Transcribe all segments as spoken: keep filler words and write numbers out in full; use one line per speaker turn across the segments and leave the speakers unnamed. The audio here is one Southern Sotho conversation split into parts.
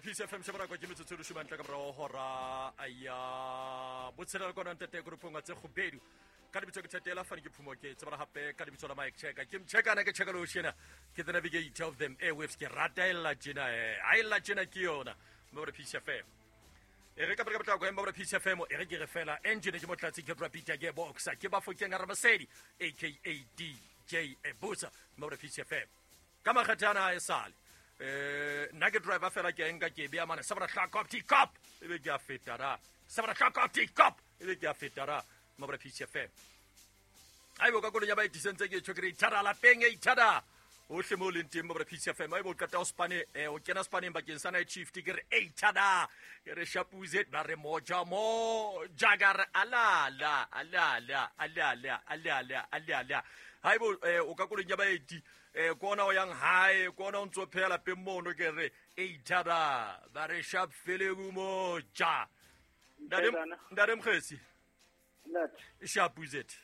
Peace F M shebara kwa ke metsotso e leshome ntle ka morao hora ya botshelela kwana ntate grupong tse kgubedu ka lebitso ke Thatela fane ke phumo ke tsebana hape ka lebitso la Mike Checker ke mchekana ke cheka lo shena ke the navigator of them airwaves ke rata ella tjena eh a ella tjena ke yona mo Peace F M e re ka pele ka potlako empa Peace F M e re ke re fela engine ke motlatsi ke Rapita ke boxer ke Bafokeng Ramasedi aka D J Ebusa mo Peace F M ka makgathana a e sale eh nna ke driver fela ke nka ke bea mane seven o'clock up t cop e be ke a feta ra seven o'clock up t cop e be ke a feta ra mo Peace F M aibo ka kolong ya ba itisentse ke tjho ke re ithara lapeng e ithara ohle mo leng teng mo Peace F M aibo qeta o spane o kena spaneng bakeng sa night shift ke re ithara ke re shapuze ba re moja mo jagar alala alala alala alala alala haibo o ka kolong ya baeti eh kona o yang hae kona o ntso phela lapeng mono ke re ithara ba re sharp fele mo ja ndare ndare mkhesi
Not.
Sharp is it?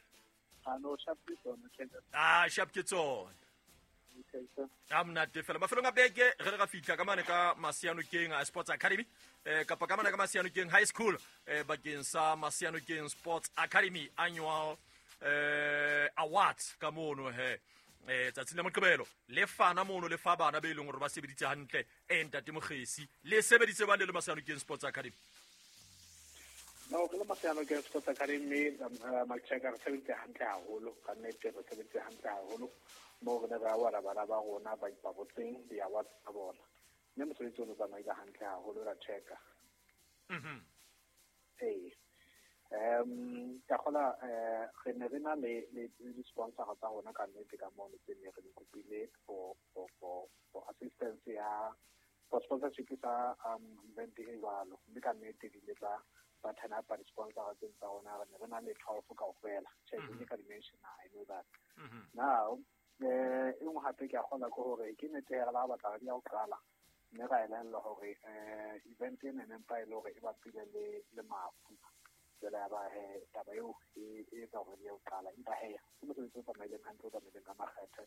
Ah no, sharp ke tsona.
Ah, sharp ke tsona. I'm not fela mafelong a beke re re ga fitla ka mane ka Masianokeng Sports Academy eh kapa ka mane ka Masianokeng High School eh bakeng sa Masianokeng Sports Academy annual eh awards ka mono he eh tsatsing la Moqebelo le fana mono le fa bana be leng hore ba sebeditse hantle eh ntate Mokgesi le sebeditse ba le le Masianokeng Sports Academy.
No, ke le Masianokeng Sports Academy Macheka re sebeditse hantle haholo ka nnete re sebeditse hantle haholo mo re ne re awara bana ba rona ba ipabotseng di-awards tsa bona mme mosebetsi o ne o tsamaile hantle haholo ra checka.
Mhm.
Ee um ka kgola eh re ne re na le le di-sponsor tsa rona ka nnete ka mono tse ne re di kopile for for for for assistance ya for sponsorship sa um event e jwalo mme ka nnete di ile tsa ba turn up di-sponsor tse tsa rona re ne re na le twelve kaofela check mm ka dimension I know that.
Mm-hmm.
Now eh e nngwe hape ke a kgola ke hore ke nnete re la batla re ya ho qala mme ra elellwa hore eh event ena ne mpa e le hore e bapile le le mafu jwale ya ba he taba eo e etsa hore re ye ho qala empa he ke mosebetsi o tsamaileng hantle o tsamaileng ka makgethe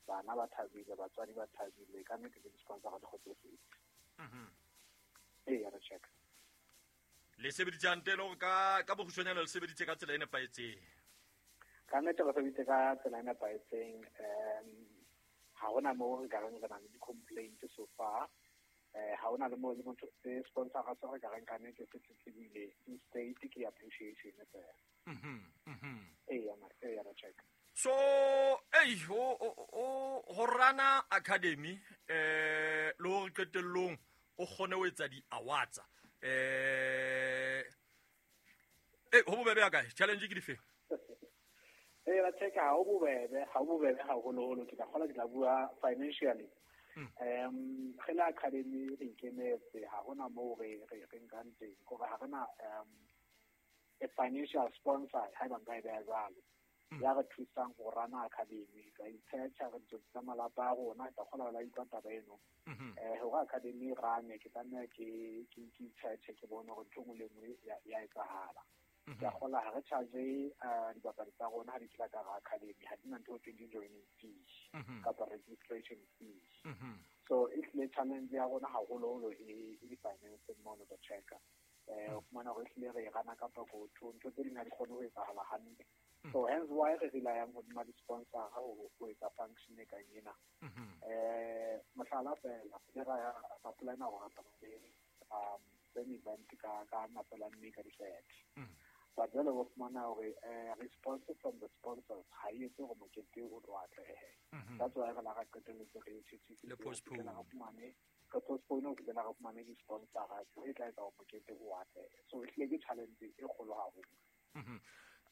bana ba thabile batswadi ba thabile ka nnete le di-sponsor di kgotsofetse.
Mhm.
Ee re check
le sebeditse hantle le hore ka ka bokgutshwanyane le sebeditse ka tsela e nepahetseng.
Ka nnete re sebeditse ka tsela e nepahetseng um ha hona moo re ka reng re na le di-complaint so far eh ha hona le moo le motho se sponsor se re ka reng ka nnete se tletlebile instead ke appreciation fela.
Mhm. Mhm.
Ee ee re check.
So ei ho o ho rana academy eh le hore qetellong o kgone ho etsa di-awards eh eh ho bobebe ya kae challenge ke dife?
Eh ra check ha ho bobebe ha ho bobebe haholoholo ke tla kgola ke tla bua financially. Um re le academy re ikemetse ha hona moo re re re nkang teng kore ha rena um a financial sponsor haeba nka e beha jwalo ya re thusang ho rana academy ra itshecha re ntse tsa malapa a rona ke tla kgola la utlwa taba eno eh hore academy rane ke tlameha ke ke ke itsheche ke bone hore ntho e nngwe le nngwe ya etsahala. Ke a kgola ha re charge dibapadi tsa rona ha di tla ka academy ha di na ntho e thweng joining fee kapa registration fee. So e hlile challenge ya rona haholoholo e e di-finance mono the checker eh o fumana hore ehlile re e rana ka pokotho ntho tse ding ha di kgone ho etsahala hantle. So hence why re relyang hodima di-sponsor ho ho etsa function e kang ena. Eh mohlala fela re ra ra plana hore re um same event ka ka mafelo a mme ka di-thirty. But jwale o fumana hore response from the sponsors ha e etse hore mokete o tlo atlehe. That's why re la ra qetelletse re
le postpone
re fumane re postpone ho fihlela re fumane di-sponsor e tla etsa hore mokete o atlehe. So ehlile ke challenge e kgolo haholo.
Mhm.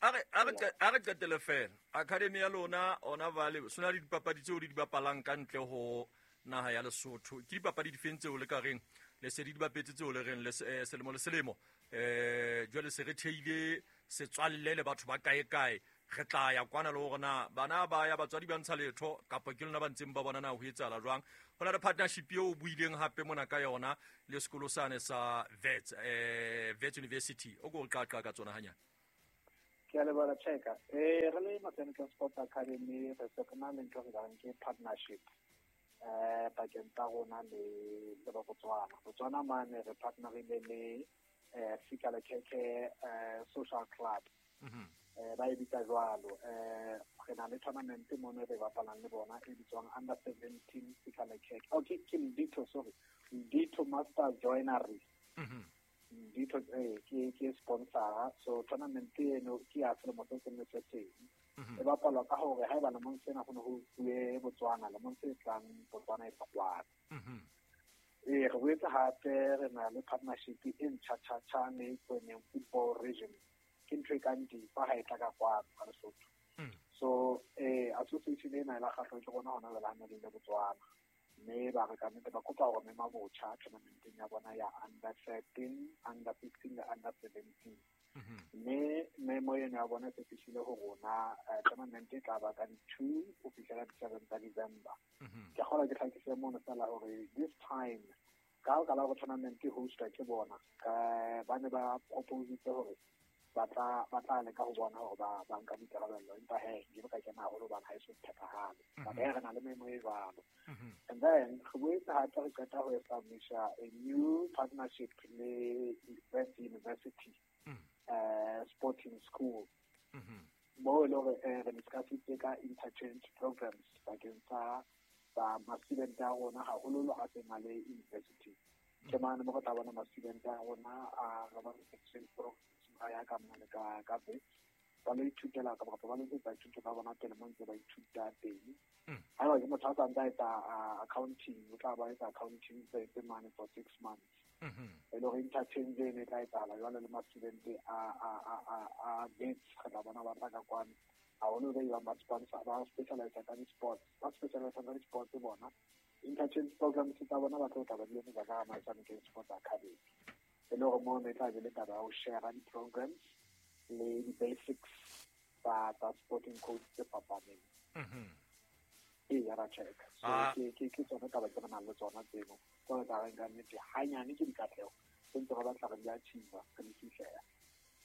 A re a re a re qetele fela academy ya lona ona vale sona le dipapadi tseo le di bapalang ka ntle ho naha ya Lesotho ke dipapadi difeng tseo le ka reng le se di dibapetse tseo le reng le selemo le selemo eh jwale se re theile setswalle le batho ba kae kae re tla ya kwana le hore na bana ba ya batswadi ba ntsha letho kapa ke lona ba ntseng ba bona na ho etsahala jwang ho na le partnership eo o buileng hape mona ka yona le sekolo sane sa Wits eh Wits University o ko qaqa ka tsona hanyane.
Ke a leboha Cheka. Eh re le Masianokeng Sports Academy re se re na le ntho re ka reng ke partnership eh pakeng tsa rona le le ba Botswana. Botswana mane re partnerile le eh Sikalekeke eh Social Club.
Mhm.
Eh ba e bitsa jwalo. Eh re na le tournament mono re bapalang le bona e bitswang under seventeen Sikalekeke. Okay, ke Ndito, sorry. Ndito Master Joinery.
Mhm.
Ndito eh ke ke sponsor, so tournament eno ke ya selemo se seng le se seng.
Mhm.
E bapalwa ka hore haeba lemong sena ho ne ho bue Botswana, lemong se tlang Botswana e tla kwana.
Mhm.
Eh re boetse hape re na le partnership e ntjha-tjha-tjha le Kweneng Football Region. Ke ntho e kang difa ha e tla ka kwano ka Lesotho.
Mm.
So eh association ena e la kgahlwa ke rona hona jwale ha ne le Botswana. Mme ba re ka nnete ba kopa hore mema botjha tournamenteng ya bona ya under thirteen, under fifteen le under seventeen.
Mhm.
Mme memo eno ya bona e se fihlile ho rona, eh, tournament e tla ba ka di-two ho fihlela di-seven tsa December.
Mhm.
Ke kgolwa ke hlakise mono fela hore this time ka ho ka la hore tournament e hostwa ke bona, eh, ba ne ba propositse hore ba tla, ba tla leka ho bona hore ba, ba nka boikarabello, empa he, nke ka kena haholo hobane ha e so phethahale.
Mhm.
But he, re na le memo e jwalo.
Mhm.
And then re boetse hape re qeta ho establisha a new partnership le Wits University,
Mm.
eh, Sporting School.
Mhm.
Moo e le hore, eh, re discussitse ka interchange programs bakeng tsa, tsa ma-student a rona, haholoholo a seng a le university. Ke mane mo re tla bona ma-student a rona a re ba exchange programs ba ya ka mane ka, ka Wits. Ba lo ithutela kapa ba lo etsa dithuto tsa bona pele mo ntse ba ithuta teng.
Mm.
Haeba ke motho a sa ntse a etsa, ah, accounting, o tla ba etsa accounting tse tse mane for six months.
Mhm.
E le hore interchange eno e tla etsahala jwale le ma-student a, a, a, a, a Wits, re tla bona ba tla ka kwano. Haholo ba ebang ba sponsor, ba specialise ka di-sports, ba specialise ka di-sports bona. Interchange programs tsa bona ba tlo tla ba di etsetsa ka Masanokeng Sports Academy. E le hore mono e tla be le taba ya ho share di-programs le di-basics tsa, tsa sporting coach tse fapaneng.
Mhm.
Ee, ya ra check. So,
Ah.
ke, ke, ke tsona taba tse re nang le tsona tseno. Tseo re tla reng ka nnete, hanyane ke dikatleho tse ntse re batla re di achieve, re di fihlela.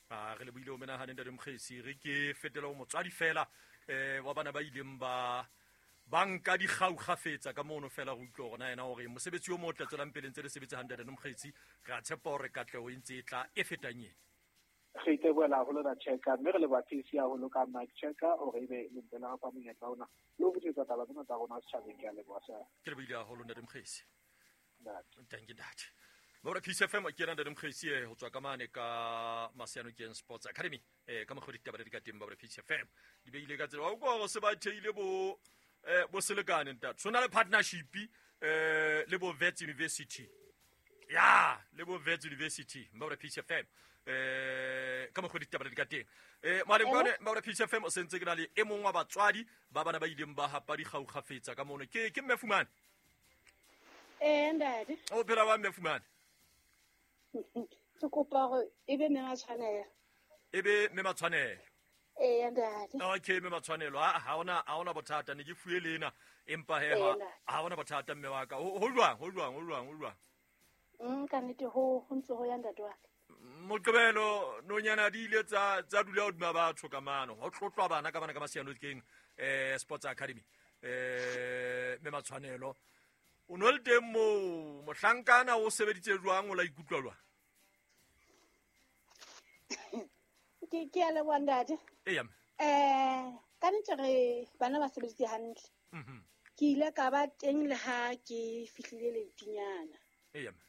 Ah, re lebohile ho menahane ntate Mokgesi. Re ke fetela ho motswadi fela, eh, wa bana ba ileng ba, ba nka dikgau kgafetsa ka mono fela re utlwe hore na yena hore mosebetsi o motle tswelang pele ntse le sebetse hantle ntate Mokgesi. Re a tshepa hore katleho e ntse e tla e fetang ena.
Re itebohela haholo ra Checker, mme re leboha P C haholo ka Mike Checker hore ebe le ntse le re fa monyetla ona le ho fetisetsa taba tsena tsa rona setjhabeng. Ke a leboha, sir.
Ke lebohile haholo ntate Mokgesi.
Ntate.
Thank you, ntate. Ba re P C F M ke yena ntate Mokgesi, eh, ho tswa ka mane ka Maseanokeng Sports Academy. Eh, ka mokgwa ditaba di ka teng ba re P C F M. Di beile ka tsela. Wa utlwa hore se ba theile bo, eh, bo selekane ntate. So na le partnership, eh, le bo Wits University. Ya, le bo Wits University, ba re P C F M. Eh, ka mokgwa ditaba di ka teng. Eh, mare
Hello?
kwane, ba re P C F M o sentse ke na le e mong wa batswadi ba bana ba ileng ba hapa dikgau kgafetsa ka mono. Ke, ke Mme Fumane?
Eh, ntate.
O phela wa Mme Fumane?
Ke kopa hore e be mme Matshwanelo.
E be mme Matshwanelo.
Ee, ntate.
Okay, mme Matshwanelo, ha, ha hona, ha hona bothata, ne ke fuwe lena, empa he,
Ee,
ha,
ntate.
ha hona bothata mme wa ka. Ho, ho jwang, ho jwang, ho jwang, ho jwang?
Mm, ka nnete ho, ho ntse ho ya ntate wa ka.
Moqebelo nonyana di ile tsa, tsa dula hodima batho ka mano. Ho tlotlwa bana ka bana ka Maseanokeng, eh, Sports Academy. Eh, mme Matshwanelo, o no le teng moo, mohlankana o sebeditse jwang, o la ikutlwa jwang?
Ke, ke a leboha ntate.
Eya, mme.
Eh, ka nnete re bana ba sebeditse hantle.
Mhm.
Ke ile ka ba teng le ha ke fihlile leitinyana.
Eya, mme.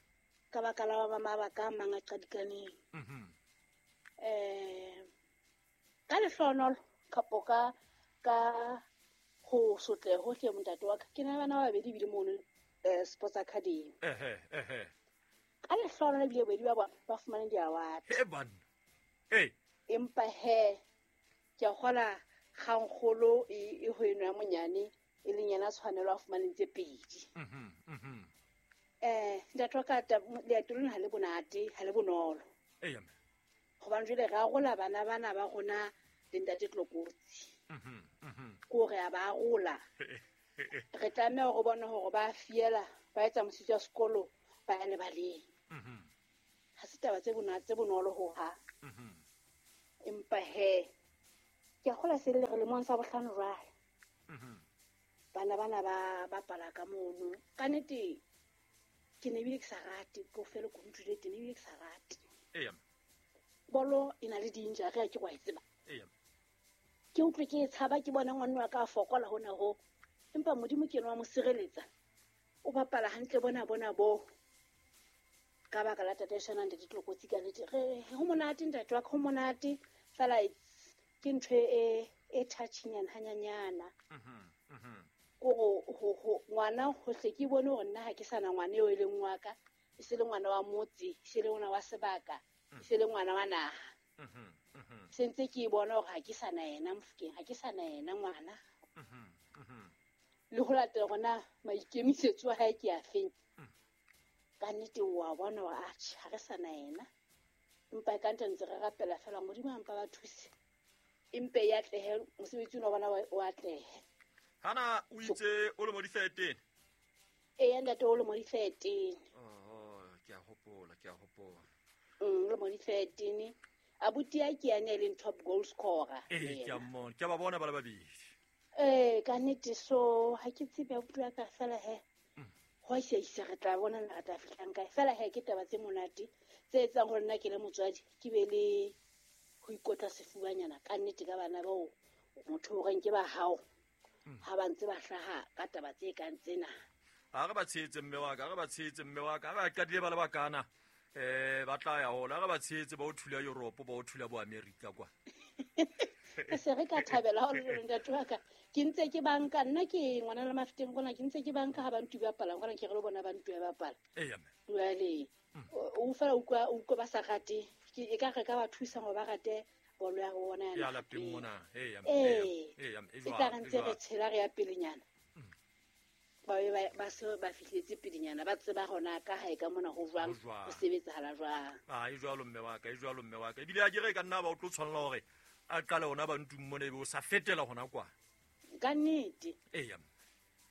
Ka baka la ba mabaka a mang a qadikaneng.
Mhm.
Eh, ka lehlohonolo kapo ka, ka ho sotleha hohle montate wa ka, ke na le bana ba babedi ebile mono, eh, Sports Academy.
Ehe, ehe.
Ka lehlohonolo ebile bobedi ba bona ba fumane di-award.
He banna. Ee.
Empa he, ke a kgola kgangkgolo e, e ho eno ya monyane, e leng yena tshwanelo a fumaneng tse pedi.
Mhm, mhm.
Eh, ntate wa ka, ta-, leeto lena ha le bonate, ha le bonolo.
Eya, mme.
Hobane jwale re arola bana bana ba rona le ntate Tlokotsi.
Mhm, mhm.
Ke hore a ba arola. Re tlameha hore bone hore ba fiela, ba etsa mosebetsi wa sekolo, ba ya lebaleng.
Mhm.
Ha se taba tse bona-, tse bonolo hohang.
Mhm.
Empa he, ke a kgolwa se le re lemong sa bohlano jwale.
Mhm.
Bana bana ba bapala ka mono. Ka nnete ke ne bile ke sa rate ko fela ko ntule teng ebile ke sa rate.
Eya.
Bolo e na le danger re ke go e tseba.
Eya.
Ke utlwe ke tshaba ke bona ngwana wa ka a fokola hona ho. Empa Modimo ke yena wa mo sireletsa. O bapala hantle bona bona bo. Ka baka la tataiso ya ntate Tlokotsi ka nnete. Re ho monate ntate wa ka, ho monate fela ke ntho e e touching hanyanyana.
Mhm. Mhm.
Go go go ngwana hohle ke bone hore nna ha ke sana ngwana eo e leng wa ka, e se le ngwana wa motse, e se le ngwana wa sebaka, e se le ngwana wa naha.
Mhm. Mhm.
Se ntse ke bona hore ha ke sana yena Mofokeng, ha ke sana yena ngwana.
Mhm. Mhm.
Le ho latela hore maikemisetso a hae ke a feng. Ka nnete wa bona hore atjhe ha re sana yena. Empa ka ntse ntse re rapela fela Modimo a mpa ba thuse. Empe ya atlehe mosebetsi ona wa bona o atlehe.
Hana o itse o le mo di-thirteen?
Ee, ntate o le mo di-thirteen.
Oh, ke a hopola, ke a hopola.
Mm, o le mo di-thirteen. Abuti ya ke yane e leng top goal scorer.
Ee, ke a mmona, ke a ba bona ba le babedi.
Ee, ka nnete so ha ke tsebe abuti wa ka fela he. Ho a isa re tla bona re tla fihlang kae. Fela he ke taba tse monate tse etsang hore nna ke le motswadi ke be le ho ikotla sefubanyana ka nnete ka bana bao motho o reng ke ba hao. Ha ba ntse ba hlaha ka taba tse kang tsena.
Ha re ba tshehetse mme wa ka, ha re ba tshehetse mme wa ka, ha ba qadile ba le bakana eh ba tla ya hola, ha re ba tshehetse ba o thula Europe, ba o thula bo America kwa.
Re se re ka thabela ha o le ntate wa ka. Ke ntse ke banka nna ke ngwana le Mafeteng kona ke ntse ke banka ha ba ntu ba bapala kona ke re le bona ba ntu ba bapala.
Eya mme.
Jwale o fela utlwa utlwa ba sa rate ke e ka re ka ba thusa hore ba rate bolo ya rona
ya lapeng mona. Eya mme. Eya mme.
E tla re ntse re tshela re ya pelenyana. Ba be ba se ba fihletse pelenyana ba tseba hona ka hae ka mona ho jwang ho sebetsahala jwang.
Ah, e jwalo mme wa ka, e jwalo mme wa ka. Ebile a ke re ka nna ba o tlo tshwanela hore a qale hona ba ntung mona ebe o sa fetela hona kwa.
Ka nnete.
Eya mme.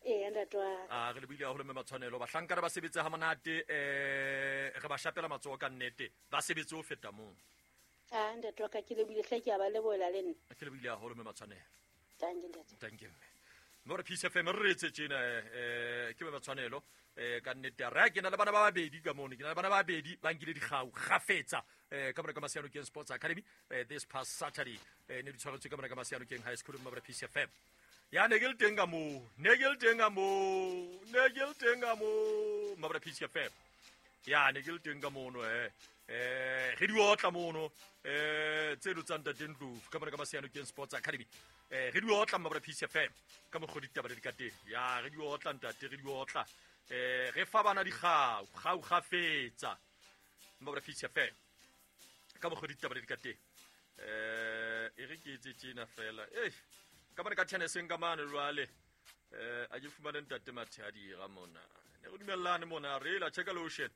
Ee, ntate wa ka.
Ah, re lebohile haholo mme Matshwanelo. Bahlankana ba sebetse ha monate, eh re ba shapela matsoho ka nnete. Ba sebetse ho feta moo.
Ah, ntate wa ka ke lebohile hle ke a ba lebohela le nna.
Ke lebohile haholo mme Matshwanelo.
Thank you ntate.
Thank you mme. Mme Peace F M re etse tjena eh ke mme Matshwanelo eh ka nnete re ke na le bana ba babedi ka mono, ke na le bana ba babedi ba nkile dikgau kgafetsa eh ka mona ka Masianokeng Sports Academy eh this past Saturday eh ne di tshwaretswe ka mona ka Masianokeng High School mme Peace F M. Ya ne ke le teng ka moo, ne ke le teng ka moo, ne ke le teng ka moo mme Peace F M. Ya ne ke le teng ka mono eh eh re di otla mono eh tse lo tsa ntate Ndlovu ka mona ka Masianokeng Sports Academy. Eh re di otla mme Peace F M ka mokgwa ditaba di ka teng. Ya re di otla ntate, re di otla. Eh re fa bana dikgau, kgau kgafetsa mme Peace F M ka mokgwa ditaba di ka teng. Eh e re ke etse tjena fela. Eh ka mona ka tenniseng ka mane jwale eh a ke fumane ntate Mathadi ra mona. Ne re dumellane mona re la check lotion.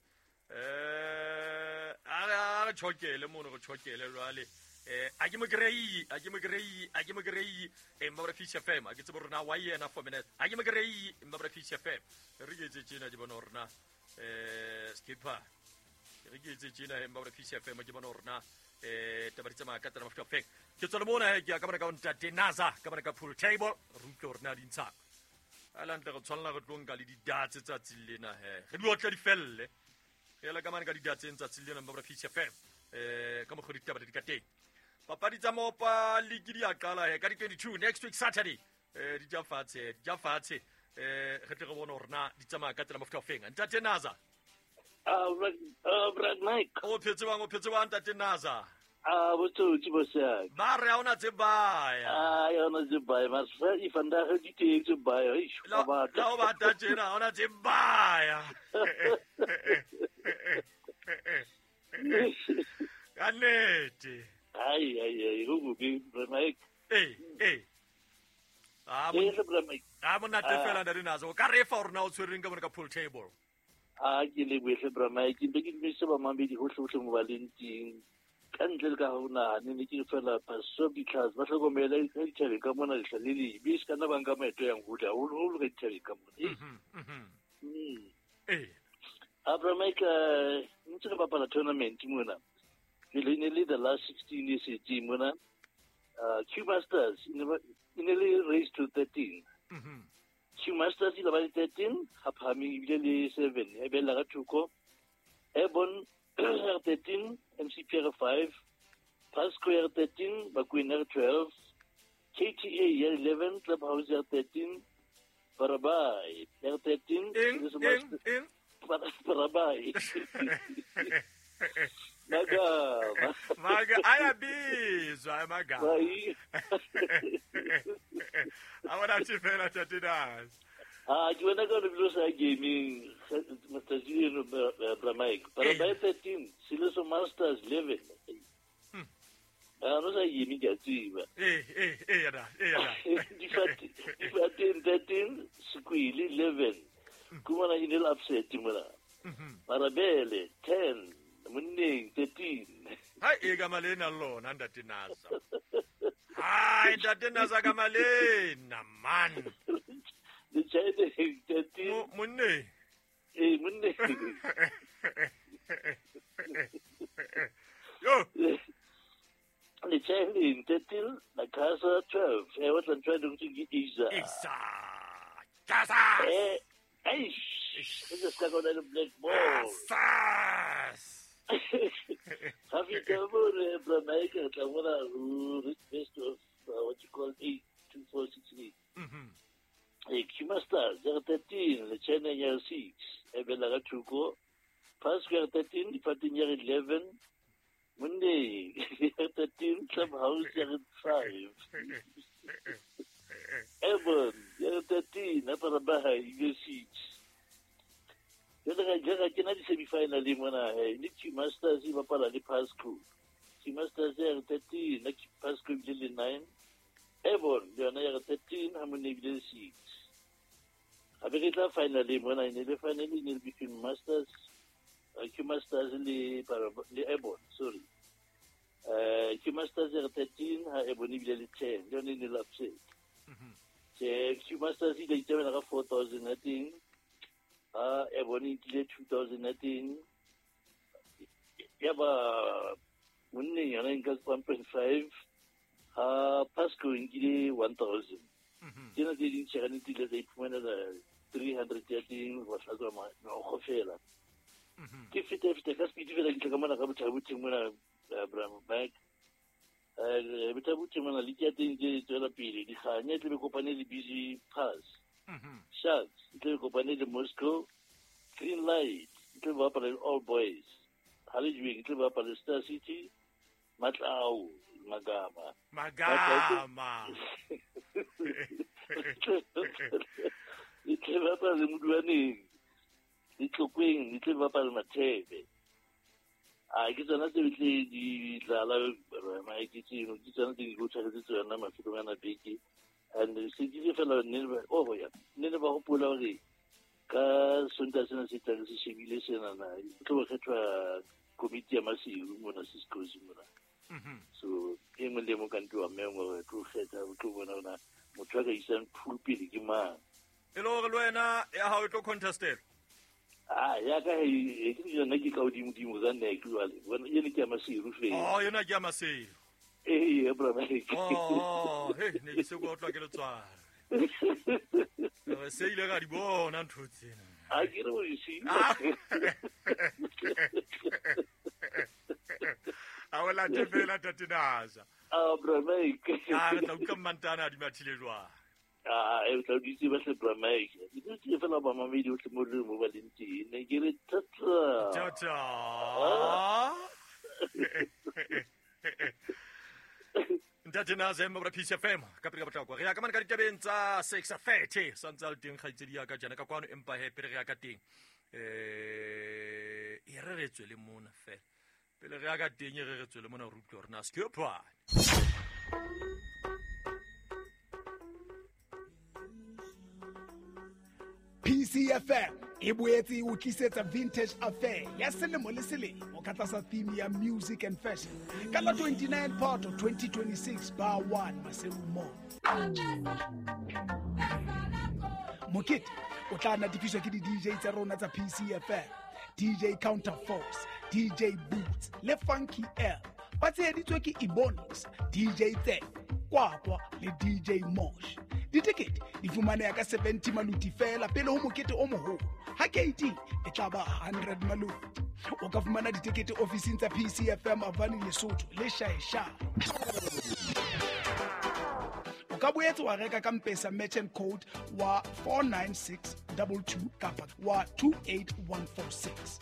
Eh a re tshokele mono re tshokele jwale. Eh a ke mo grey, a ke mo grey, a ke mo grey e mma Peace F M. A ke tsebe rona wa yena four minutes. A ke mo grey mma Peace F M. Re ke etse tjena ke bona rona eh skipper. Re ke etse tjena mma Peace F M ke bona rona eh taba di tsamaya ka tsela mafuta feng. Ke tswa le mona he ke ya ka bona ka ntate Naza ka bona ka pool table re utlwe rona di ntsha. Ala ntle re tshwanela re tlo nka le di-darts tsatsing lena he. Re di otle di felle. Re ela ka mane ka di-darts tsatsing lena mma Peace F M. Eh ka mokgwa ditaba di ka teng. Papadi tsa mopa league di a qala he ka di twenty-two next week Saturday. Eh di ja fatshe, di ja fatshe. Eh re tle re bone hore na di tsamaya ka tsela mafuta feng. Ntate Naza.
Ah, uh, Brad Mike.
O phetse bang, o phetse bang ntate Naza.
Ah, botsotsi bo se.
Ba re ha ona tse baya.
Ah, ya ona tse baya, mas fa i vandag di teng tse baya. Eish,
ba batla. La o batla tjena, ona tse baya. Ka nnete.
Ai ai ai, go go be Brad Mike.
Eh, eh. Ah,
mo.
Ah, monate fela ntate Naza. O ka re fa hore na o tshwereng ka bona ka pool table.
Ah, ke le bohle Bra Mike, ke ke dumedise ba mamedi hohle hohle mo ba leng teng. Ka ntle le ka ho nahane ne ke fela paso because ba hlokomele ka dithabeng ka mona lehla le lebe se ka nna ba nka maeto yang hole haholoholo ka dithabeng ka mona.
Mhm.
Mm.
Eh.
Ah, Bra Mike, ntse re bapala tournament mona. Ke le ne le the last sixteen years e team mona. Uh, Q Masters e ne le race to thirteen.
Mhm.
Q Masters ile ba le thirteen, ha Phahameng ebile le seven, e bella ka thoko. Airborne R thirteen, M C P R five, Pasco R thirteen, Bakwena R twelve, K T A R eleven, Clubhouse R thirteen, Parabai R thirteen, Parabai. Maga,
Maga, ayabizwa maga. Awona thifela tatinazi.
Ah, ke wena ka re sa gaming Mister Zino Bra Mike. Parabai thirteen, Siloso Masters eleven. Ah, no sa gaming ke tseba.
Eh, eh, eh ya eh ya.
Di thirteen thirteen, Squealy eleven. Kumana inel upset mona. Marabele ten. Monneng thirteen.
Hai e ka malena lona ntate Naza. Hai ntate Naza ka malena man.
The China thirteen.
Monneng.
Eh monneng.
Yo.
The China thirteen, la casa twelve. Eh what I'm trying to get Isa.
Isa. Casa.
Eh eish. This is got a black ball.
Sas.
Happy Bra Mike, best of uh, what you call eight two four six eight.
Mm-hmm.
Q Masters thirteen, the China year six, Ebela Tuko, Pascal thirteen, Fatin year eleven, Monday thirteen, Clubhouse year five. Airborne year thirteen, Aparabaha year six. Jwale ga ke na di-semi-final mona he le Q Masters e bapala le Pasco. Q Masters ya re thirteen, na Pasco ebile le nine. Airborne le yona ya re thirteen, ha mone ebile le six. Hape re tla final mona, e ne le final e ne le between Masters, uh, Q Masters le le Airborne, sorry. Uh, Q Masters ya re thirteen, ha Airborne ebile le ten, le yona e ne le upset. Che Q Masters e ile itabela ka four thousand ya teng. Ah, Ebony tlile two thousand nineteen. Ya ba monneng yona e nka one point five, ha Pasco e nkile one thousand. Tsena tse ding tjhe ka nnete ile tsa iphumanela three hundred ya teng ho hlatswa meokgo fela. Ke feta feta ka speed fela ke tla ka mona ka bothabothe mona Bra Mike. Eh bothabothe mona le ya teng ke tswela pele dikganya tle be kopane le busy pass.
Mm-hmm.
Sharks, e tle kopane le Moscow, Green Light, e tle bapala le All Boys, Halejweng, e tle bapala le Star City, Matlao, Magama.
Magama.
E tle bapala le Moduaneng, le Tlokweng, e tle bapala le Mathebe. A ke tsona tse tle di dlala Mike tseno, ke tsona tse di go tshwaretse tsona mafelong ana beke. And se ke fela nne oh ya nne ba hopola hore ka Sontaha sena se tlang se shebile sena na tlo kgethwa komiti ya Maseru mona Cisco's mona. So e mong le mong ka ntlo wa mengwe re tlo kgetha o tlo bona ona motho a ka isang pool pele ke mang.
E le hore le wena ya hao e tlo contestelwa.
Ah ya ka e ke yona ke ka hodimo dimo tsa nne ke jwale bona ene ke ya Maseru fela.
Oh yona ke ya Maseru.
Eh, Bra Mike.
Oh, hey, ne ke se go utlwa ke letswalo. Re se ile ra di bona ntho tsena.
A ke re o di
A o late fela tate Naza.
Ah, Bra Mike.
Ah, re tla utlwa mmantana a di mathile jwang.
Ah, e tla di tseba hle Bra Mike. Ke tsile fela ba mamedi ohle mo re mo ba leng teng. Ne ke re tata.
Tata. Ntate Naza mo P C F M ka pele ka potlako. Re ya ka mane ka ditabeng tsa six thirty santse le teng kgaitsedi ya ka jana ka kwano empa he pele re ya ka teng. Eh e re re tswele mona fela. Pele re ya ka teng e re re tswele mona re utlwe hore na skephwane.
P C F M e boetse e o tlisetsa Vintage Affair ya selemo le selemo ka tlasa theme ya Music and Fashion ka la twenty-nine Phato twenty twenty-six bar one Maseru Mall. Mokete o tla natefiswa ke di-D J tsa rona tsa P C F M, D J Counterforce, D J Boots le Funky L. Ba tsheheditswe ke Ebonix, D J Tse, Kwakwa le D J Mosh. Ditekete di fumaneha ka seventy maluti feela pele ho mokete o moholo. Ha keiting e tla ba hundred maluti. O ka fumana ditekete ofising tsa P C F M Avani Lesotho le Shaeshae. O ka boetse wa reka ka M-Pesa merchant code wa four nine six double two kapa wa two eight one four six.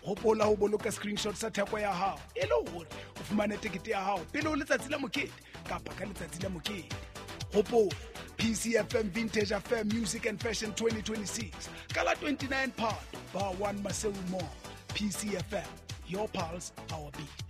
Hopola ho boloka screenshot sa theko ya hao e le hore o fumane tekete ya hao pele ho letsatsi la mokete kapa ka letsatsi la mokete. Hopola P C F M Vintage Affair Music and Fashion twenty twenty-six ka la twenty-nine Phato, Bar one Maseru Mall. P C F M, your pulse, our beat.